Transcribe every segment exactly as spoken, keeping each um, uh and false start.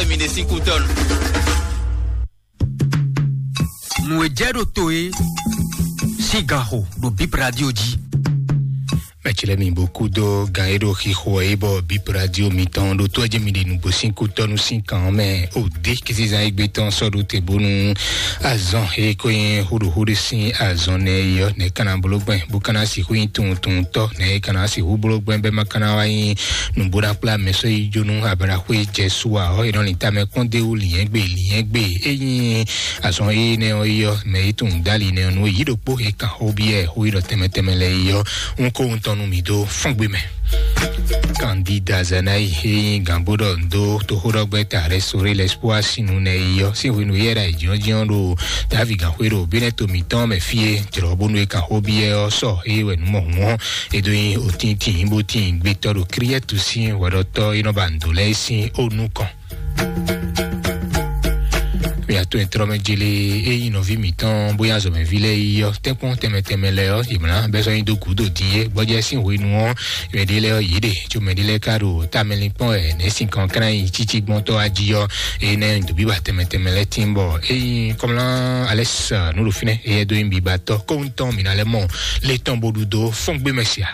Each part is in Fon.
Mi ɖe sín kútɔ́nu. Nǔ e jɛ ɖo to e sín gan xo ɖo Bip Radio jí. Mɛ ce lɛ́ɛ mi bo kúdó gan e ɖo xixo ɛ bɔ Bip Radio mitɔn ɖo tó ɛ jɛ mi ɖe nǔgbó sín kútɔ́nu sín kan ɔ́ mɛ. O dé kizizan e gbé tɔn sɔ́ ɖo te bónú azɔn e ko nyí xóɖoxóɖo sín azɔn nɛ é ɔ́, nɛ̌ ka ná bló gbɛn bó ka ná sixú nyí tunwuntunwuntɔ́, nɛ̌ é ka ná sixú bló gbɛn bɛ́ ma ka ná wá nyí nǔbó ná kplá mɛ sɔ́ yi jó nú ablaxwé jɛ su ǎ ɔ́, è nɔ lin tamɛ kpɔ́n dó wú lǐnyɛ́gbe lǐnyɛ́gbe. Ényí azɔn énɛ́ ɔ́ yi ɔ́, mɛ e tunwun dó ali nɛ́ ɔ́, nú yǐ ɖokpó e kan xó byɔ́ xó yi ɖɔ tɛnmɛ tɛnmɛ lɛ́ɛ yi ɔ́, un ko wuntɔn nú mì dó fɔ́n gbe mɛ. Kandida Zanayi e nyí gǎnbó ɖɔ ndo toxóɖɔgbɛ́ta Restauré l'Espoir sín nu nɛ yi ɔ́, sín hwenu yɛ́ ɖo ayǐjínjɔ́n ɖo Davi gǎnxwé ɖo Bínɛ́ to mǐtɔn mɛ fí e jlɔ̌ bónú e kan xó byɔ́ ɔ́ sɔ ée wɛ nǔ mɔ hǔn ɔ́, é dó nyí otíntìn bó tín gbétɔ́ ɖo Kíríɛ́tu sín hwɛɖɔtɔ́ e nɔ ba nǔ dó lɛ́ɛ sín ó nukɔn. Mia to nyɛtrɔ́mɛ jele e nyí nɔví mǐtɔn bóyá azɔ̌mɛví lɛ́ɛ yi ɔ́, tɛ́nkpɔ́n tɛnmɛ tɛnmɛ lɛ́ɛ ɔ́, yě mlá bɛ́ sɔ́ nyi dó gǔdo din é. Gbɔjɛ́ sín hwenu ɔ́, mɛ ɖé lɛ́ɛ ɔ́, yě ɖe, tso mɛ ɖé lɛ́ɛ ka ɖo tamɛlinkpɔ́n wɛ nɛ̌ sin kan kán nyi títí gbɔn tɔ́ wá jí ɔ́, é nɛ́ dǒbíba tɛnmɛ tɛnmɛ lɛ́ɛ tín bɔ é nyí kɔmlá Alɛ́s nǔ ɖo fínɛ́, éyɛ́ dó nyí bibatɔ́ kóhun tɔn mǐ ná lɛ́ mɔ lé tɔn bó ɖu dó fɔ́n gbé mɛ sia.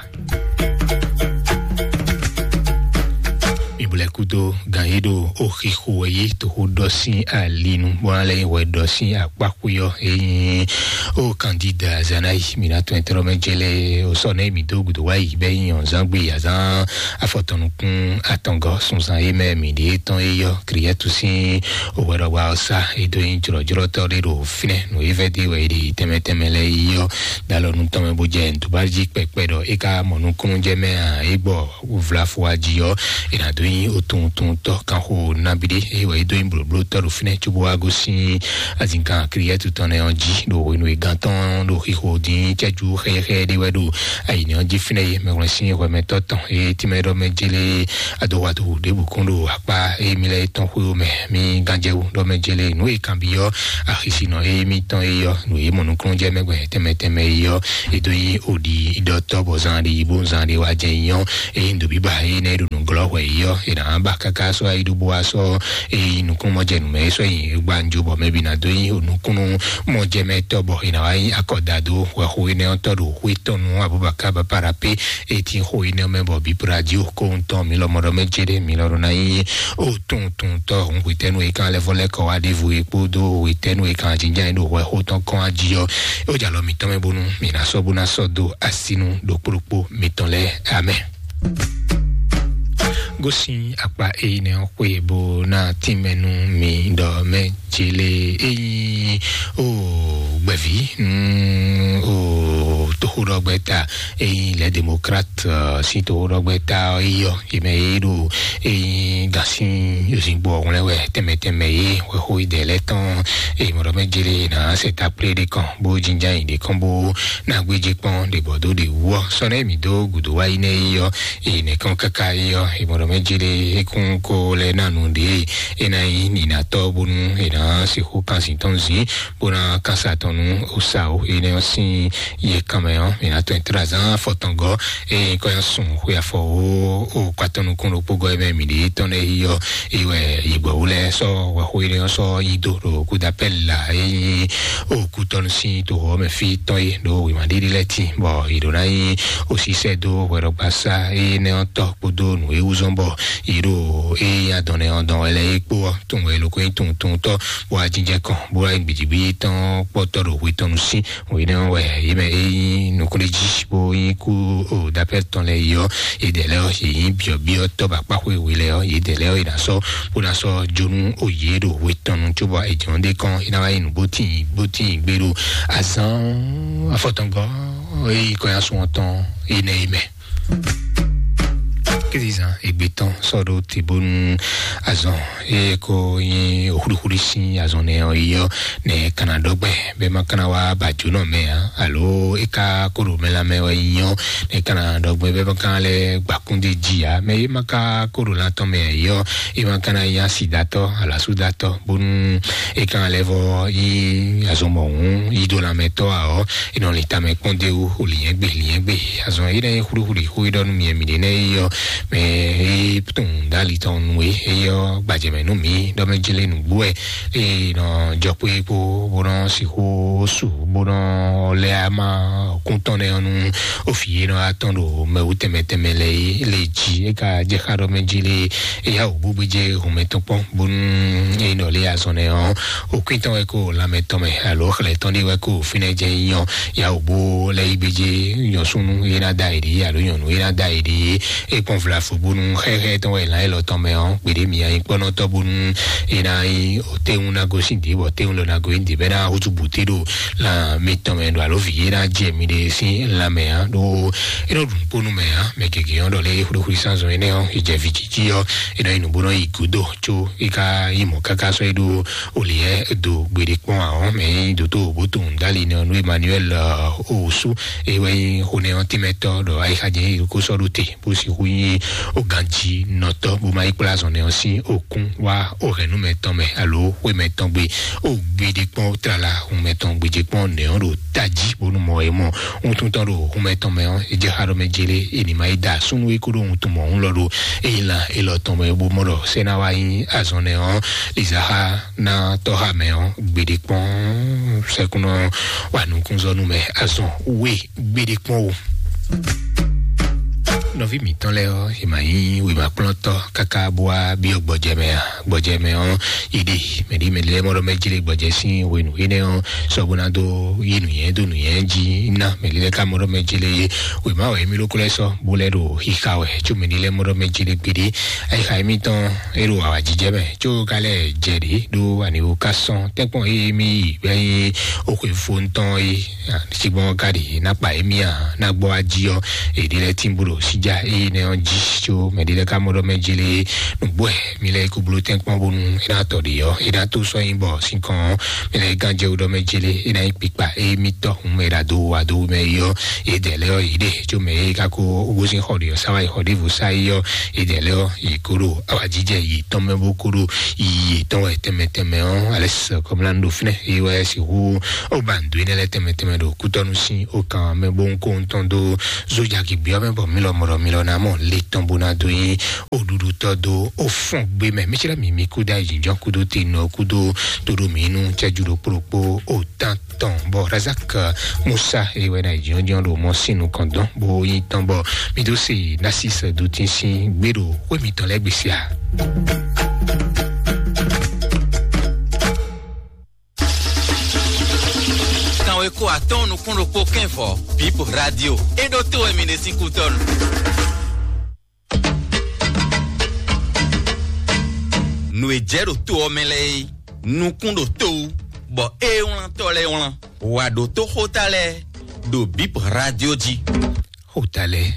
Mi bo lɛ́ kúdó gan e ɖo oxixo wɛ yí toxo ɖɔ sín ali nu, bó ná lɛ́ nyí hwɛ ɖɔ sín akpáxwé ɔ́, é nyí ó kandida Zanayi, mǐ ná tɔn ɛtrɔ́ mɛ jɛ lɛ o sɔ nɛ mǐ dó gǔdo wá yi bɛ nyí ɔnzán gbe azán afɔtɔnukún atɔngɔ sunzan e mɛ mǐ ɖe tɔn e yɔ Kriyɛtu sín o hwɛ ɖɔgba ɔ́ sá e dó nyí jlɔjlɔtɔ ɖé ɖo fínɛ nǔ e vɛ dé wɛ e ɖe tɛmɛ tɛmɛ lɛ yi yɔ. Dalɔ nu tɔn mɛ bó jɛ ntúbájí kpɛkpɛ ɖɔ é ká mɔ nukúnnú jɛ mɛ a é gbɔ vlafo ají ɔ́, è nǎ dó nyí otuntuntɔ kanxo nábíɖé, é wɛ é dó nyí blǒblótɔ́ ɖo fínɛ́ cóbó wá gosín azinkan Kriyɛtu tɔn nɛ́ ɔ́ jí, ɖo hwenu e gán tɔn ɖo xixo dín cɛ́jú xɛyɛxɛyɛ ɖé wɛ ɖo ayǐnɛ́ ɔ́ jí fínɛ́ é. Mɛhwlɛ́n sín hwɛmɛtɔ́ tɔn e tínmɛ ɖɔ mɛ jélé adɔwadu ɖěbǔ kún ɖo akpá émí lɛ́ɛ tɔn xwé mɛ. Mí gánjɛwú ɖɔ mɛ jélé nǔ e kanbyɔ́ axisinɔ émítɔn é yɔ nǔ e mɔ nukúnnú jɛ mɛ gbɛ tɛmɛ tɛmɛ é yɔ. Edo yi odi idɔtɔ bɔ zan ɖi bo zan ɖi wa jɛ nyɔ. Eyi ndo biba yi ne ɖo nuglɔ hwɛ yi yɔ. Ena ba kaka sɔ ayi ɖo bo asɔ eyi nukun mɔ jɛ numɛ sɔ yi gbanjo bɔ mɛ bi na do yi nukun mɔ jɛ mɛ tɔ bɔ ena wa yi akɔ da do hwɛ xo yi ne tɔ ɖo hwe tɔnu abubakar bapara pe eti xo yi ne mɛ bɔ bi pra di o ko ŋutɔ mi lɔ mɔ ɖɔ mɛ jɛ ɖe mi lɔ ɖo na yi o tun tun tɔ hun hwetɛnu yi kan lɛ vɔ lɛ kɔ wa ɖevo yi kpodo hwetɛnu yi kan jinjan yi ɖo hwɛ xo tɔn kɔn aji yɔ. E o jalɔ mitɔn mɛ bonu mi na sɔ bo na sɔ do asinu ɖokpo ɖokpo mitɔn lɛ. Amɛ. Gosin akpa eyi nɛ ɔ́ xwe bo na tínmɛnu mi ɖɔ mɛ jele eyi o gbɛvi nu o toxoɖɔgbɛta eyi lɛ demokrat si toxoɖɔgbɛta eyi yɔ yi mɛ yi ɖo eyi gasin yozingbɔ ŋlɛ wɛ tɛmɛ tɛmɛ yi wɛ xo idɛ lɛ tɔn eyi mɔɖɔ mɛ jele na sɛ takple ɖe kɔn bó jinjan yi ɖe kɔn bó na gbéjé kpɔn ɖe bɔ dó ɖe wú ɔ sɔ nɛ mi dó gudo wá yi nɛ yi yɔ eyi nɛ kɔn kaka yi yɔ eyi mɔɖɔ mɛ jele ekun ko lɛ na nu ɖe e na yi ninatɔ bonu e na sixu kan zin tɔn zin bó ná kásá tɔn nú osa o énɛ́ ɔ́ sín yɛ kanmɛ ɔ́, mǐ ná tɔn tlazán afɔtɔngɔ eye kɔ nyi sun xwe afɔ o o kpatɔnukun ɖokpó gɔ mɛ mǐ ɖe tɔn lɛ yi ɔ́, eye wɛ yigbɔwu lɛ sɔ wɛxo énɛ́ ɔ́ sɔ yi do ɖo kudapɛl la eye o kutɔnu sín to xɔ mɛ fí tɔn yi ɖo wěma ɖiɖi lɛ ti bɔ yi ɖo ná yi osisɛ do hwɛɖɔgbasa eye nɛ ɔ́ tɔ kpódó nǔ e wú zɔn bɔ yi ɖo eye adɔn nɛ ɔ́ dɔn wɛ lɛ yi kpó ɔ́ tun wɛ loko yi tun tun tɔ bó wá jínjɛ kɔn bó wá gbìdìgbì tɔn kpɔtɔ ɖo hwe tɔn nu sí. Wòye nɛ wɛ yé mɛ e nyí nukúnɖéjí bó nyí kú o dapɛ́ tɔn lɛ yi ɔ́, yě dɛ lɛ ɔ́ yě nyí byɔ̌byɔ́ tɔ́ ba kpáxwé we lɛ ɔ́, yě dɛ lɛ ɔ́ yě ná sɔ́ bó ná sɔ́ jónú o yě ɖo hwe tɔn nu cóbɔ è jɔ̌n ɖé kɔn é ná wá nyí nǔ bó tíin bó tíin gbé ɖo azán afɔtɔngɔ e nyí kɔ́nyásun ɔ́ tɔn énɛ́ é mɛ. Kézizan ègbé tɔn sɔ́ ɖó te bónú azɔn e ko nyí òxúɖúxúɖú sín azɔn nɛ ɔ́ yi ɔ́ nɛ kana ɖɔgbɛ bɛ ma kana wá bàjó nɔ mɛ ǎ alo é ka kó ɖo mɛ lanmɛ wɛ nyí ɔ́ nɛ kana ɖɔgbɛ bɛ ma kana lɛ gbakúndé jí ǎ mɛ é ma ka kó ɖo lan tɔn mɛ yi ɔ́ é ma kana nyí asidatɔ alasúdatɔ bónú é kana lɛ vɔ nyí azɔn mɔhún yí dó lanmɛ tɔ́ ǎ ɔ́ é nɔ lin tamɛ kpɔ́n dé wú o lǐnyɛ́gbe lǐnyɛ́gbe azɔn é nɛ nyí xúɖúxúɖú xó é ɖɔ nú mi mi ɖě nɛ yi ɔ́ Mɛ e tunwun dali tɔn nu e eyɔ gbajɛmɛ nú mi ɖɔ mɛ jele nǔgbó ɛ e nɔ jɔ kpé kpó bó nɔ sixú su bó nɔ lɛ ama kún tɔn nɛ ɔnu ofi e nɔ atɔn ɖo mɛwu tɛmɛ tɛmɛ lɛ e le jí e ka jɛ xa ɖɔ mɛ jele eya wò bó gbéjé hɔnmɛ tɔn kpɔn bónú e nɔ lé azɔn nɛ ɔ òkúntɔn wɛ kó lanmɛ tɔn mɛ alo xlɛ tɔn ɖé wɛ kó fínɛ jɛ nyɔ ya wò bó lɛ yi gbéjé nyɔsúnú e ná da yi ɖi alo nyɔnu e ná da yi ɖi e kpɔn vla fo bónú xɛxɛ tɔn wɛ lan elɔ tɔn mɛ ɔ gbèdé mi anyi kpɔnɔtɔ bónú e ná yi o téwún ná gosín dě bɔ téwún lɔ ná gosín dě bɛ ná hútu bùté ɖo lan mi tɔn mɛ ɖo alo vi e ná jɛ mi ɖe sín lanmɛ ǎ ɖó e nɔ ɖu nukpónú mɛ ǎ mɛ gěgé ɔ́ ɖɔ lé xwlíxwlí sánzɔn énɛ́ ɔ́ e jɛ vǐ jí jí ɔ́ e nɔ yi nǔ bó nɔ yi gǔdo có e ka yi mɔ̌ káká sɔ́ yi ɖó olǐɛ do gbeɖé kpɔ́n ǎ ɔ́ mɛ nyí dǒtó bó tunwun dali nɛ ɔ́ nú Emmanuel Owusu e wɛ nyí xonɛ ɔ́ tɛ́mɛtɔ́ ɖɔ ayixájɛ nyí ko sɔ́ ɖó te bó sixú nyí oganjinɔtɔ́ bó ma yi kplá azɔn nɛ ɔ́ sín okún wá ohɛ̌nnumɛ tɔn mɛ alo xwémɛ tɔn gbe o gbeɖé kpɔ́n tlala hunmɛ tɔn gbèjé kpɔ́n nɛ ɔ́ ɖo tají bónú mɔ e mɔ wuntun tɔn ɖo hunmɛ tɔn mɛ ɔ́ e jɛ xa ɖɔ mɛ jélé e ní ma yi da súnnu e kó ɖo wuntun mɔ òun lɔ ɖo eyi lan elɔ tɔn mɛ bó mɔ ɖɔ sɛ́ ná wá nyí azɔn nɛ ɔ́ lizaha ná tɔ́ xa mɛ ɔ́ gbeɖé kpɔ́n sɛkúnɔ wa nukúnzɔnú mɛ azɔn wé gbeɖé kpɔ́n o. Nɔví mǐtɔn lɛ́ɛ ɔ́, è ma nyí wěmakplɔ́ntɔ́ káká bó wá byɔ́ gbɔjɛ mɛ ǎ. Gbɔjɛ mɛ ɔ́, yi ɖe mɛɖě mɛɖě lɛ́ɛ mɔ ɖɔ mɛ jlé gbɔjɛ sín hwenu énɛ́ ɔ́, sɔ bó ná dó yí nǔnywɛ́ dó nǔnywɛ́ jí ná mɛɖě lɛ́ɛ ka mɔ ɖɔ mɛ jlé wěma wɛ émí ɖokó lɛ́ɛ sɔ́ bó lɛ́ ɖo xixa wɛ có mɛɖě lɛ́ɛ mɔ ɖɔ mɛ jlé gbeɖé. Ayixa émítɔn é ɖo awǎjijɛ mɛ có ka lɛ́ jɛ ɖě ɖó aniwo ka sɔn tɛ́nkpɔ́n émí yi bɛ́ nyí oxwe fó ŋutɔn é. Sigbɔn ka ɖi na kpa emi a na gbɔ aji ɔ eɖi lɛ tin bolo sija eye nɛ ɔ ji tso mɛ ɖi lɛ ka mɔ ɖɔ mɛ jele nugbo ɛ mi lɛ ko bolo tɛn kpɔn bonu e na tɔ ɖi ɔ e na to sɔ yin bɔ sinkɔn mi lɛ gan jɛ wo ɖɔ mɛ jele e na yi kpikpa eye mi tɔ hun mɛ ɖa do wa do mɛ yi ɔ e dɛ lɛ ɔ yi ɖe tso mɛ e ka ko wosin xɔ ɖi ɔ sawa yi xɔ ɖi vo sa yi ɔ e dɛ lɛ ɔ yi ko ɖo awa jijɛ yi tɔn mɛ bo ko ɖo yi tɔn wɛ tɛmɛ tɛmɛ ɔ ale sɛ kɔmla ɖo finɛ eye wɛ si hu O ba ndu énɛ́ lɛ́ɛ tɛnmɛ tɛnmɛ ɖo kútɔ́nú sín o kan mɛ bó ń kó ń tɔn dó zojaki biɔ mɛ bɔ mi lɔ mɔ ɖɔ mi lɔ ná mɔ le tɔn bó ná dó yín o ɖuɖu tɔ dó o fɔn gbé mɛ mi tsira mi mi kú dá yi jínjɔn kúdó te nɔ kúdó tó ɖo mi nú cɛjú ɖo kplokpó o tán tɔn bɔ Razak Musa e wɛ na yi jínjɔn ɖo mɔ sín nukɔn dɔn bó yín tɔn bɔ mi dó se Nasis do tín sín gbé ɖo xwé mitɔn lɛ́ɛ gbèsè a. Kanweko atɔ́ɔ́n nukún ɖokpó kɛ́n vɔ̌, Bip Radio. É ɖó tó wɛ mi ɖe sín kútɔ́nu. Nǔ e jɛ ɖo to ɔ́ mɛ lɛ́ɛ é, nukún ɖo to wú, bɔ é wlán tɔ́ lɛ́ɛ wlán. Wǎ ɖó tó xóta lɛ́ɛ ɖo Bip Radio jí. Xóta lɛ́ɛ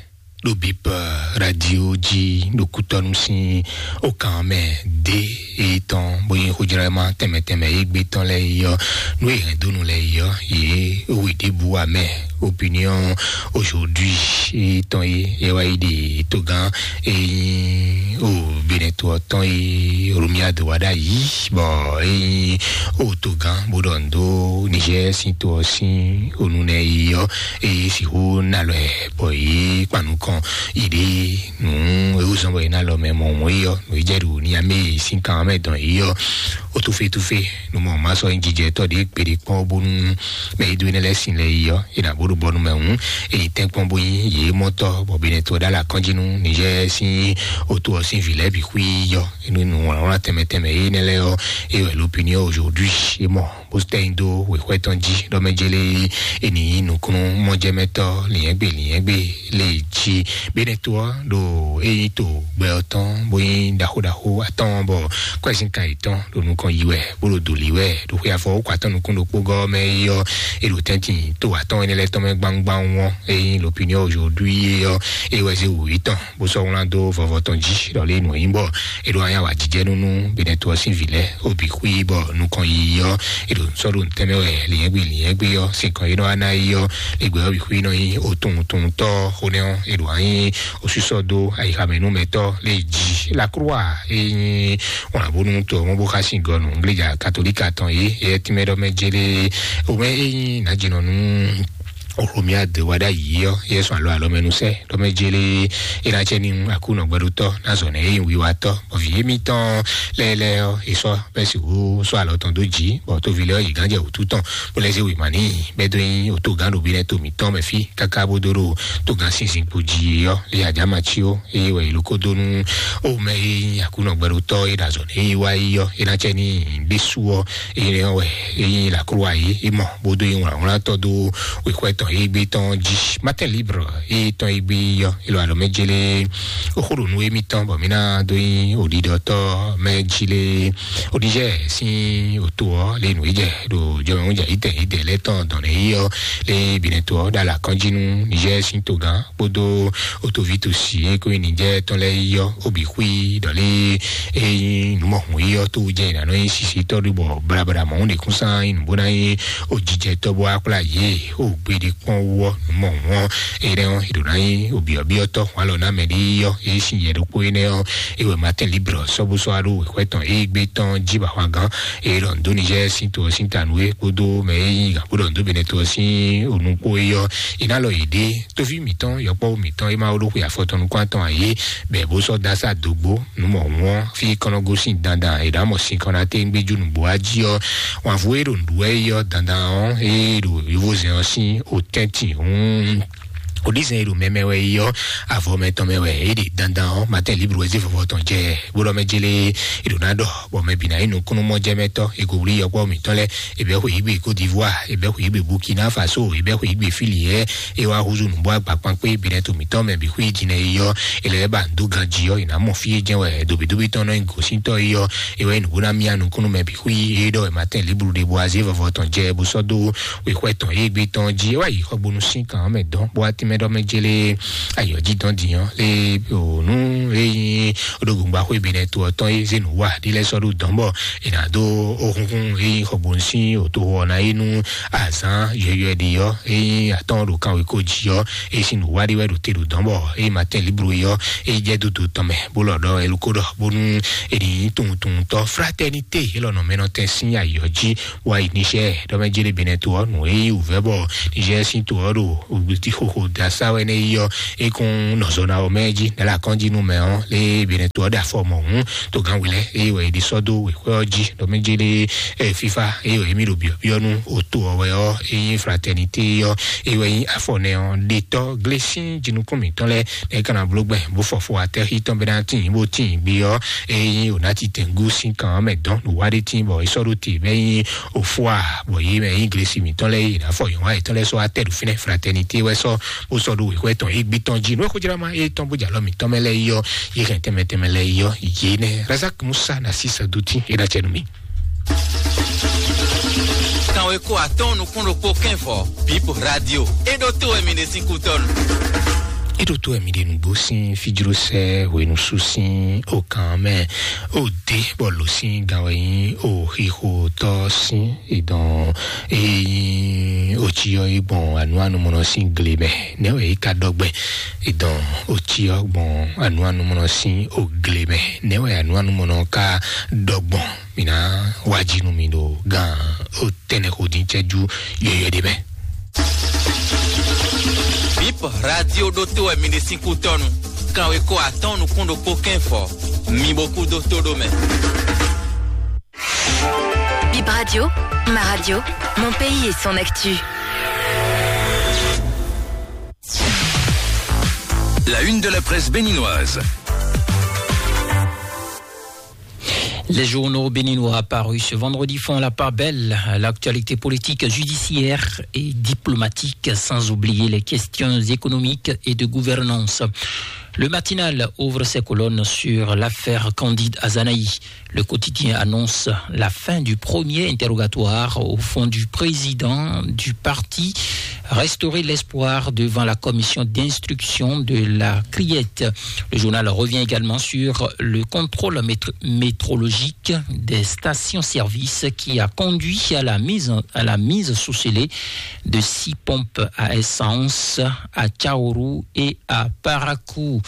ɖo Bip Radio jí ɖo kútɔ́nu sín o kan mɛ dé e tɔn bó nyí xójlɔ́má tɛnmɛ tɛnmɛ e gbé tɔn lɛ́ɛ yi ɔ́, nú e hɛn dó nu lɛ́ɛ yi ɔ́, yě we ɖěbǔ amɛ opinion aujourd'hui e tɔn e yɛ wá yi ɖe togán e nyí o Benɛto ɔ́ tɔn e Romuald wá ɖ'ayǐ bɔ e nyí o togán bó ɖɔ nǔ dó Niger sín to ɔ́ sín onu nɛ yi ɔ́ e sixú ná lɔ ɛ bɔ yě kpan nukɔn yi ɖě nǔ e wú zɔ́n bɔ yě ná lɔ mɛ mɔ mɔ̌ yi ɔ́ nǔ e jɛ ɖo Niamey sín kan mɛ dɔn yi ɔ́ o tufe tufe nú mɔ má sɔ́ nyí jijɛ tɔ́ ɖě kpeɖé kpɔ́n bónú mɛ e dó énɛ́ lɛ́ɛ sin lɛ yi ɔ́ e nǎ bó ɖo bɔnu mɛ hǔn e nyí tɛ́nkpɔ́n bó nyí yě mɔtɔ́ bɔ Benɛto ɔ́ ɖó alɔ akɔ́njínú Niger sín oto ɔ́ sín vǐ lɛ́ɛ bǐ xwí yi ɔ́ nú nǔwlánwlán tɛnmɛ tɛnmɛ énɛ́ lɛ́ɛ ɔ́ e wɛ l'opinion aujourd'hui é mɔ bó tɛ nyi dó wěxwɛ́ tɔn jí ɖɔ mɛ jélé e ní nyí nukúnnú mɔjɛmɛtɔ́ lǐnyɛ́gbe lǐnyɛ́gbe lě jí. Benɛto ɔ́ ɖo é nyí to gbɛ ɔ́ tɔn bó nyí ɖaxó ɖaxó atɔ́ɔ́n bɔ kwɛ́sínkan yětɔn ɖo nukɔn yi wɛ bó ɖo dǒ lí wɛ ɖo xwe afɔ wókɔ atɔ́ nukún ɖokpó gɔ́ mɛ é ɔ́ é ɖo tɛ́ntin to atɔ́ɔ́n énɛ́ lɛ́ɛ tɔn mɛ gbámgbám ɔ́ é nyí l'opinion aujourd'hui é ɔ́ é wɛ zé wǔ yětɔn bó sɔ́ wlán dó vɔvɔ tɔn jí ɖɔ lé nǔ e nyí bɔ é ɖo anyá wǎ jijɛ nú nú Benɛto ɔ́ sín vǐ lɛ́ɛ ó bǐ xwí bɔ nukɔn yiyi ɔ́ é ɖo sɔ́ ɖo nǔtɛ́ mɛ wɛ lǐnyɛ́gbe lǐnyɛ́gbe ɔ́ sín kɔn é nɔ wá ná yi ɔ́ lě gbɛ ɔ́ bǐ xwí nɔ nyí otunwuntunwuntɔ́ xó nɛ́ ɔ́ é ɖo anyí osúsɔ dó ayixamɛnúmɛtɔ́ lé jí lakroa é nyí wlǎnbónú to ɔ́ mɔ bó xá sín gɔnu ngléjà katolíka tɔn é é tínmɛ ɖɔ mɛ jélé omɛ é nyí nǎjínɔ nú Oxomia de wa ɖ'ayǐ ɔ́, yɛ sɔn alɔ alɔ mɛ nusɛ ɖɔ mɛ jele, e na cɛ ni akúnɔ gbɛɖotɔ na zɔ nɛ e wiwa tɔ bɔ vi émítɔn lɛlɛ ɔ́, e sɔ bɛ si wu sɔ alɔ tɔn dó dzi bɔ tovi lɛ ɔ́ yi gán jɛ wǔtu tɔn bó lɛ zé wěma n'i bɛ dó nyi oto gán ɖo bi nɛ to mǐtɔn mɛ fí káká bó dó ɖo to gán sinsin kpo jí ɔ́, le adama cí ó. Eye wɛ yi loko dó nú o mɛ e nyi akúnɔ gbɛɖotɔ e ɖo azɔ nɛ e wá yi ɔ́, e na cɛ ni ɖésú ɔ́, eye nɛ wɛ e nyi lakrowa yi e mɔ bó dó yi wlǎnwlátɔ́ dó wěxwɛ tɔn e gbé tɔn jí. Matin libre e tɔn e gbé yi ɔ́, e lɔ alɔ mɛ jele oxó ɖo nú émítɔn bɔ mí ná dó nyi oɖiɖɔtɔ́ mɛ jí lé. Oɖijɛ sín oto ɔ́ lé nǔ e jɛ ɖo jɔmɛwúnjà yítɛn yítɛn lɛ́ tɔn dɔn nɛ yi ɔ́ lé binɛ to ɔ́ ɖo alakɔ́njí nú Niger sín togán kpódó otoví tosi e kó nyi Niger tɔn lɛ́ɛ yi ɔ́, obi xwí ɖɔ lé e nyí nǔmɔhun yi ɔ́ tó jɛ nǎ nɔ nyí sisitɔ́ ɖu bɔ blabla mɔ̌hun ɖe kún sán nyí nǔ bó ná nyí ojijɛtɔ́ bó wá kplá yě o gbeɖé kpɔ́n wú ɔ́ nǔmɔhun ɔ́. Énɛ́ ɔ́, è ɖǒ ná nyí obyɔ̌byɔ́tɔ́ hwǎn lɔ ná mɛ ɖé yi ɔ́, é sín yɛ ɖokpó énɛ́ ɔ́, é wɛ Matin Libre sɔ́ bó sɔ́ wá ɖó wěxwɛ́ tɔn e gbé tɔn jí bɔ ahwangán e ɖɔ nǔ dó Niger sín to ɔ́ sín ta nú é kpódó mɛ e nyí gǎn bó ɖɔ nǔ dó Benɛto ɔ́ sín onu kpó é ɔ́, è ná lɔ yě ɖe. Tóví mǐtɔn, yɔkpɔ́vú mǐtɔn e ma ɖó xwe afɔ tɔn nukún atɔn ǎ é, bɔ è bó sɔ́ dó asá dǒgbó nǔ mɔ̌hun ɔ́, fí kɔn nɔ gosín dandan è ɖǎ mɔ sin kɔn ná téŋgbé jú nǔgbó wá jí ɔ́, wǎnvú e ɖo nǔɖuɖu wɛ é ɔ́, dandan ɔ́, é ɖo yovózɛn ɔ́ sín otɛ́ntin hǔn. Oɖízɛn e ɖo mɛmɛ wɛ yi ɔ́, avɔ mɛtɔn mɛ wɛ é ɖe dandan ɔ́, Matin Libre wɛ zé vɔvɔ tɔn jɛ bó ɖɔ mɛ jélé é ɖo ná ɖɔ, bɔ mɛ bǐ ná nyí nukúnnúmɔjɛmɛtɔ́. È ko wlí yɔkpɔ́ mǐtɔn lɛ́ɛ, è bɛ́ xweyǐgbe Côte d'Ivoire, è bɛ́ xweyǐgbe Burkina Faso, è bɛ́ xweyǐgbe Fili lɛ́ɛ, é wá húzú nǔbó agba kpankpé Benɛto mǐtɔn mɛ bǐ xwí jǐnɛ yi ɔ́, è lɛ́ ba nǔ dó ganjí ɔ́, è nǎ mɔ fí é jɛ́n wɛ dǒbídóbí tɔn nɔ nyí gǒsíntɔ́ yi ɔ́, é wɛ nyí nǔ bó ná myá nukúnnú mɛ bǐ xwí. É ɖɔ wɛ Matin Libre ɖe bó wá zé vɔvɔ tɔn jɛ bó sɔ́ dó wěxwɛ́ tɔn e gbé tɔn jí. É wá yi xɔgbónú sín kan ɔ́ mɛ dɔn bó wá tínmɛ ɖɔ mɛ jélé ayɔ̌ jí dɔn din ɔ́ lé o nú é nyí ɖo gbongbo axwé Benɛto ɔ́ tɔn é zé nǔ wa ɖi lɛ́ sɔ́ ɖo dɔn bɔ è nǎ dó ó xúnxún é nyí xɔgbónú sín òtoxo ɔ́ ná é nú azǎn yɔyɔɛ ɖi ɔ́, é nyí atɔ́n ɖo kanwéko jí ɔ́, é sín nǔ wa ɖi wɛ ɖo te ɖo dɔn bɔ é Matin Libre ɔ́ é jɛ dodo tɔn mɛ bó lɔ ɖɔ é ló kó ɖɔ bónú è ní nyí tunwuntunwuntɔ́. Fraternité é lɔ nɔ mɛ nɔ tɛn sín ayɔ̌ jí wá yi Niger ɖɔ mɛ jélé Benɛto ɔ́ nǔ e yí wǔvɛ́ bɔ Niger sín to ɔ́ ɖo ògbétí xóxó da sá wɛ nɛ yi ɔ́, é kún nɔ zɔ ná ɔ́ mɛ jí nɛ́ la kɔn jí nú mɛ ɔ́ lé Benɛto ɔ́ ɖo afɔ mɔ̌hún togán wǐ lɛ́ é wɛ è ɖi sɔ́ dó wěxwɛ́ ɔ́ jí ɖɔ mɛ jélé ɛ fífá é wɛ émí ɖo byɔ̌byɔ́ nú òto ɔ́ wɛ ɔ́ é nyí Fraternité ɔ́ é wɛ nyí afɔ nɛ ɔ́ ɖetɔ́ glé sín jinukún mǐtɔn lɛ́ɛ nɛ́ ká ná bló gbɛn bó fɔ fo atɛ́xí tɔn bɛ́ ná tíin bó tíin gbé ɔ́, é nyí ònátitɛngú sín kan ɔ́ mɛ dɔn nǔ wá ɖé tíin bɔ é sɔ́ ɖó te bɛ́ nyí òfó a bɔ yě mɛ nyí glesi mǐtɔn lɛ́ɛ yě ná fɔ yɔ̌wá yětɔn lɛ́ɛ sɔ́ wá tɛ ɖo fínɛ́ Fraternité wɛ sɔ́ bó sɔ́ ɖó wěxwɛ́ tɔn égbé tɔn jí nú é xójlá ma é tɔn bó jɛ alɔ mǐtɔn mɛ lɛ́ɛ yi ɔ́, yě hɛn tɛnmɛ tɛnmɛ lɛ́ɛ yi ɔ́, yě nɛ́ Razak Musa na sísɛ dó tín é ná cɛ nú mì. Kanweko atɔ́ɔ́n nukún ɖokpó kɛ́nfɔ Bip Radio. É ɖó tó wɛ mi ɖe sín kútɔ́nu. É ɖó tó wɛ mi ɖe nǔgbó sín fíjlósɛ hwenusú sín okan mɛ. Ó dé bɔ lǒ sín gan wɛ nyí o xixo tɔ́ sín ìdán. Ényí o cí ɔ́ é gbɔn anú anumɔnɔ sín gle mɛ, nɛ́ wɛ é ka ɖɔ gbɛn? Ìdán o cí ɔ́ gbɔn anú anumɔnɔ sín o gle mɛ, nɛ́ wɛ anú anumɔnɔ ka ɖɔ gbɔn? Mǐ ná wá jí nú mi ɖo gan o tɛnɛ xo dín cɛ́jú yɔyɔ́ ɖé mɛ. Bip Radio ɖótó wɛ mi ɖe sín kútɔ́nu. Kanweko atɔ́ɔ́n nukún ɖokpó kɛ́nfɔ. Mi bo kú dó tó ɖó mɛ. Bip Radio, ma radio, mon pays et son actu. La une de la presse béninoise. Les journaux béninois apparus ce vendredi font la part belle à l'actualité politique, judiciaire et diplomatique, sans oublier les questions économiques et de gouvernance. Le Matinal ouvre ses colonnes sur l'affaire Candide Azanaï. Le quotidien annonce la fin du premier interrogatoire au fond du président du parti. Restaurer l'espoir devant la commission d'instruction de la Criette. Le journal revient également sur le contrôle métro-, métrologique des stations-service qui a conduit à la mise en, à la mise sous scellé de six pompes à essence à Tchaourou et à Parakou.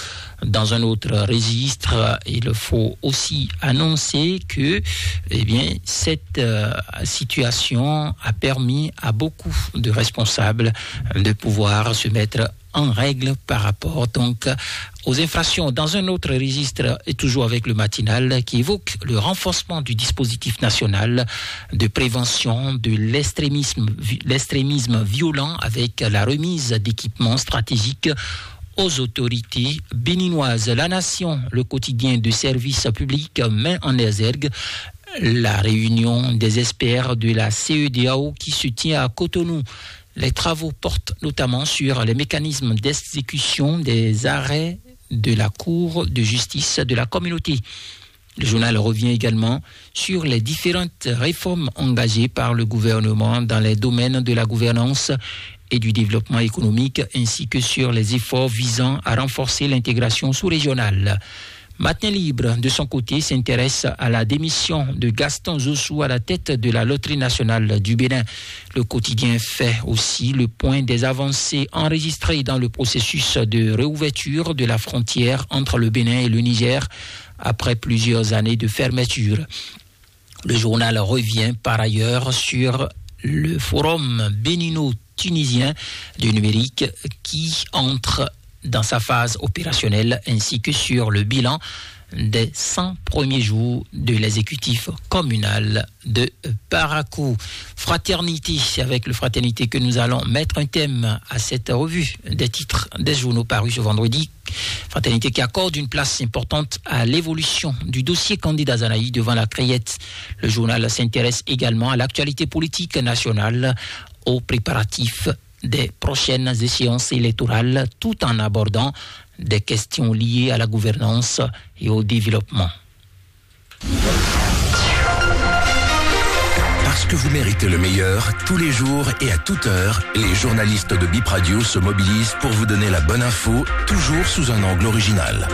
Dans un autre registre, il faut aussi annoncer que, eh bien, cette, euh, situation a permis à beaucoup de responsables de pouvoir se mettre en règle par rapport donc aux infractions. Dans un autre registre, et toujours avec le Matinal, qui évoque le renforcement du dispositif national de prévention de l'extrémisme, l'extrémisme violent avec la remise d'équipements stratégiques aux autorités béninoises. La Nation, le quotidien de service public, met en exergue la réunion des experts de la C E D A O qui se tient à Cotonou. Les travaux portent notamment sur les mécanismes d'exécution des arrêts de la Cour de justice de la communauté. Le journal revient également sur les différentes réformes engagées par le gouvernement dans les domaines de la gouvernance et du développement économique, ainsi que sur les efforts visant à renforcer l'intégration sous-régionale. Matin Libre, de son côté, s'intéresse à la démission de Gaston Zossou à la tête de la Loterie nationale du Bénin. Le quotidien fait aussi le point des avancées enregistrées dans le processus de réouverture de la frontière entre le Bénin et le Niger après plusieurs années de fermeture. Le journal revient par ailleurs sur le forum bénino-tunisien du numérique qui entre dans sa phase opérationnelle, ainsi que sur le bilan des cent premiers jours de l'exécutif communal de Parakou. Fraternité, c'est avec le Fraternité que nous allons mettre un thème à cette revue des titres des journaux parus ce vendredi. Fraternité qui accorde une place importante à l'évolution du dossier candidat Zanaï devant la Créette. Le journal s'intéresse également à l'actualité politique nationale, aux préparatifs des prochaines échéances électorales, tout en abordant des questions liées à la gouvernance et au développement. Parce que vous méritez le meilleur, tous les jours et à toute heure, les journalistes de Bip Radio se mobilisent pour vous donner la bonne info, toujours sous un angle original.